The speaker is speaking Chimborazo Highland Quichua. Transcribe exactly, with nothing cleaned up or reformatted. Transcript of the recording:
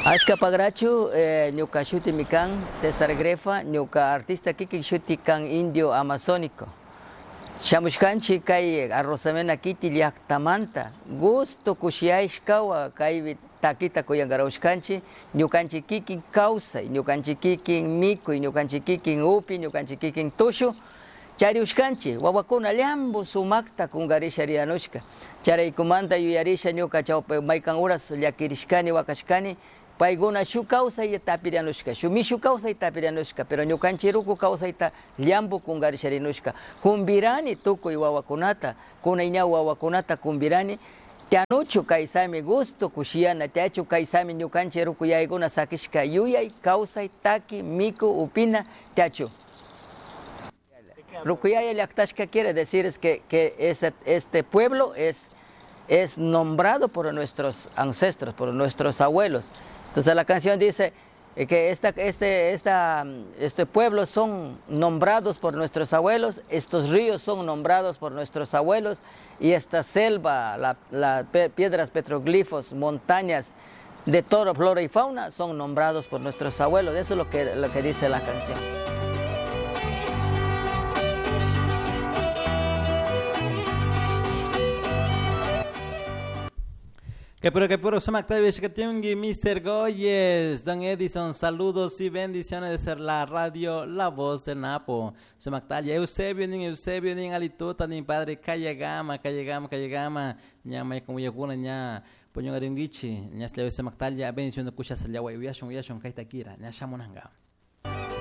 Ashka pagrachu eh, ñuka shuti kan César Grefa, ñuka artista kikin shuti kan indio amazónico. Shamushkanchi kay Arrosamena kiti llaktamanta gusto kushiashkawa kay takita kuyangarawshkanchi ñukanchik kikin kawsay, ñukanchik kikin mikuy, ñukanchik kikin upi, ñukanchik kikin tushu chariushkanchi wawakuna llambu sumakta kungarisha rianushka charaykumanta yuyarisha ñuka chawpi maykan uras llakirishkani wakashkani paykuna shuk kawsay tapirianushka shuk mishu kawsay tapirianushka pero ñukanchik ruku kawsayta llambu kungarisharinushka kumbirani tukuy wawakunata kunay ña wawakunata kumbirani tianuchu kaysami gusto kushiyana tiachu kaysami ñukanchik ruku yaykuna sakishka yuyay kawsay taki miku upina tiachu. Rukuyaya llaktashka quiere decir es que, que ese, este pueblo es, es nombrado por nuestros ancestros, por nuestros abuelos. Entonces la canción dice que esta, este, esta, este pueblo son nombrados por nuestros abuelos, estos ríos son nombrados por nuestros abuelos y esta selva, la, la piedras, petroglifos, montañas de toro, flora y fauna son nombrados por nuestros abuelos. Eso es lo que, lo que dice la canción. Que puro, que puro, Sumak Shkatyungi, mister Goyes, Don Edison, saludos y bendiciones de ser la radio, la voz de Napo. Sumaktalla, Eusebio, nin Eusebio, nin Alituta, nin padre, Kayagama, Kayagama, Kayagama, ña may como yakuna, ña poñongaringichi, ña slia Sumaktalla, bendición de kucha sallawa, uyashon, uyashon, kaita kira, ña shamunanga.